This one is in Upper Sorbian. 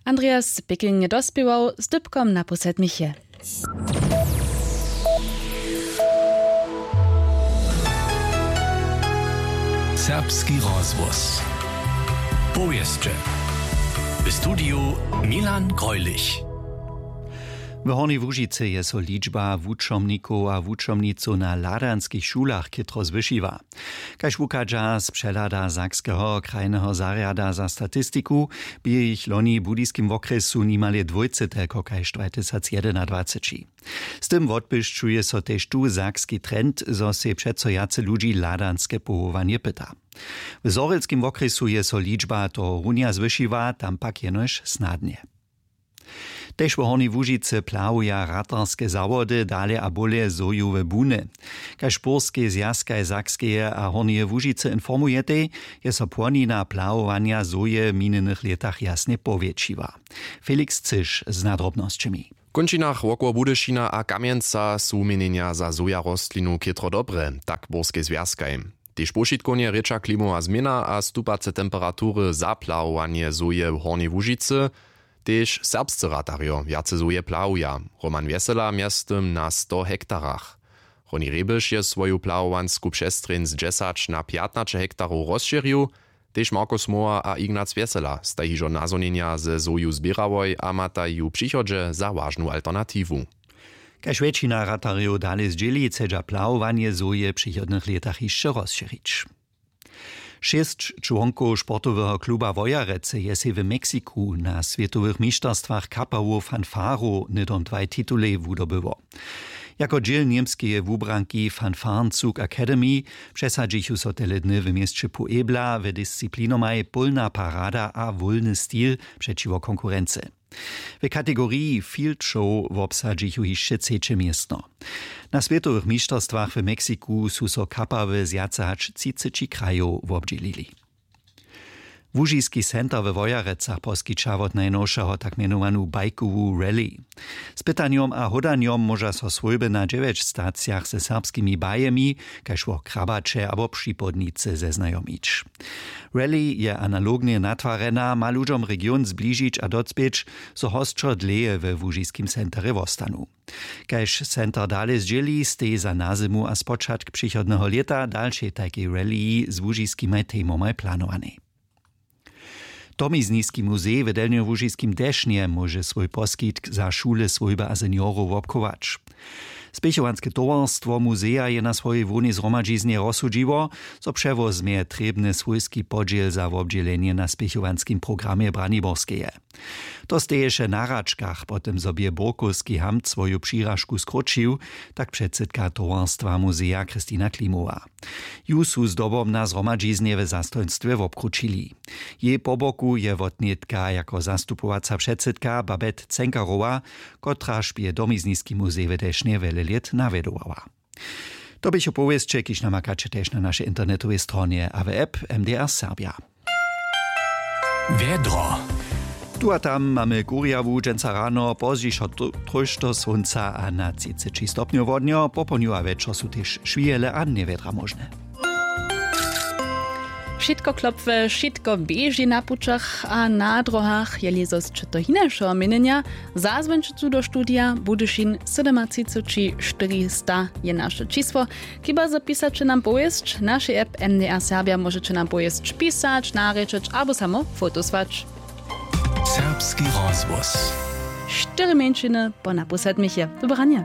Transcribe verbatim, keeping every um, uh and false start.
Andreas Pěkling je dospěwał z dypkom na pół sedmich je. Serbski rozhłos. Powěsće. W studiju Milan Greulich. W Hornjej Łužicy je so ličba wučomnikow a wučomnicow na hladanskich šulach chětro zwyšiła. Kaž wuchadźa z přehlada Sakskeho krajneho zarjada za statistiku, bě jich loni w budyskim wokrjesu nimale dwójce telko kaž dwatysacjedynadwaceći. Z tym wotbłyšćuje so tež tu sakski trend, zo sej přeco wjace ludźi hladanske powołanje pyta. W zhorjelskim wokrjesu je so ličba tohorunja zwyšiła, tam pak jenož snadnje. Tež w Hornjej Łužicy plahuja ratarske zawody dale a bóle zhojowe buny. Kaž burskej zwjazkaj Sakskeje a Hornjeje Łužicy informujetej, je so płonina plahowanja zhoje w minjenych lětach jasnje powjetšiła. Felix Cyš z nadrobnosćemi. W kónčinach wokoło Budyšina a Kamjenca su wuměnjenja za zhoja rostlinu chětro dobre, tak burskej zwjazkaj. Tež powšitkownje rěča klimowa změna a stupace temperatury za plahowanje zhoje w Hornjej Łužicy. Tež serbscy ratarjo wjace zhoje plahuja. Roman Wjesela mjeztym na sto hektarach. Honi Rebiš je swoju plahowansku přestrjeń z dźesać na pjatnaće hektarow rozšěrił. Tež Markus Mohr a Ignac Wjesela staj hižo nazhonjenja ze zhoju zběrałoj a mataj ju w přichodźe za wažnu alternatiwu. Kaž wjetšina ratarjow dale zdźěli, chcedźa plahowanje zhoje w přichodnych lětach hišće rozšěrić. Šěsć čłonkow sportoweho kluba Wojerecy je sej w Meksiku na swětowych mišterstwach kapałow fanfarow hnydom dwaj titulej wudobyło. Jako dźěl němskeje wubranki Fanfarenzug Academy přesadźichu so tele dny w měsće Puebla w disciplinomaj pólna parada a wólny stil přećiwo konkurency. W kategoriji field show wobsadźichu hišće třeće městno. Na swětowych mišterstwach w Meksiku su so kapawy z wjace hač třiceći krajow wobdźělili. Łužiski center we Wojerecach poskića wot najnowšeho tak mjenowanu bajkowu rally. Z pytanjom a hódanjom móža so swójby na dźewjeć stacijach ze serbskimi bajemi, kaž wo Krabaće abo Připołdnicy, zeznajomić. Rally je analognje natwarjena, ma ludźom region zbližić a docpěć, zo hosćo dlěje we łužiskim centerje wostanu. Kaž center dale zdźěli, steji za nazymu a spočatk přichodneho lěta dalšej tajkej rallyji z łužiskimaj temomaj planowanej. Domizniski muzej w delnjołužiskim Dešnje móže swój poskitk za šule, swójby a seniorow wobchować. Spěchowanske towarstwo muzeja je na swojej hłownej zhromadźiznje rozsudźiło, zo přewozmje trěbny swójski podźěl za wobdźělenje na spěchowanskim programje Braniborskeje. To steješe na hračkach, po tym zo bě burkowski hamt swoju přiražku skróćił, tak předsydka towarstwa muzeja Christina Klimowa. Ju su zdobom na zhromadźiznje w zastojnstwje wobkrućili. Jej po boku je wotnětka jako zastupowaca předsydka Babette Cenkarowa, kotraž bě domizniski muzej w Dešnje wjele lět nawjedowała. To běchu powěsće, kiž namakaće tež na našej internetowej stronje a w app M D R Serbja. Wjedro. Tu a tam mamy kurjawu dźensa rano, pozdźišo tr-, trójšto słónca a na třiceći stopnjow wodnjo. Popołdnju a wječor su tež šwijele a njewjedra móžne. Wšitko klopwy, wšitko běži na pućach a na dróhach. Jeli zo sće to hinašeho měnjenja, zazwońće tu do studija Budyšin sydomatřiceći štyristo je naše čisło. Chiba zo pisaće nam powěsć, w našej app M D R Serbja móžeće nam powěsć pisać, narěčeć abo samo fotosłać. Serbski rozhłos. Štyri mjeńšiny po napoł sedmich je. Dobranje.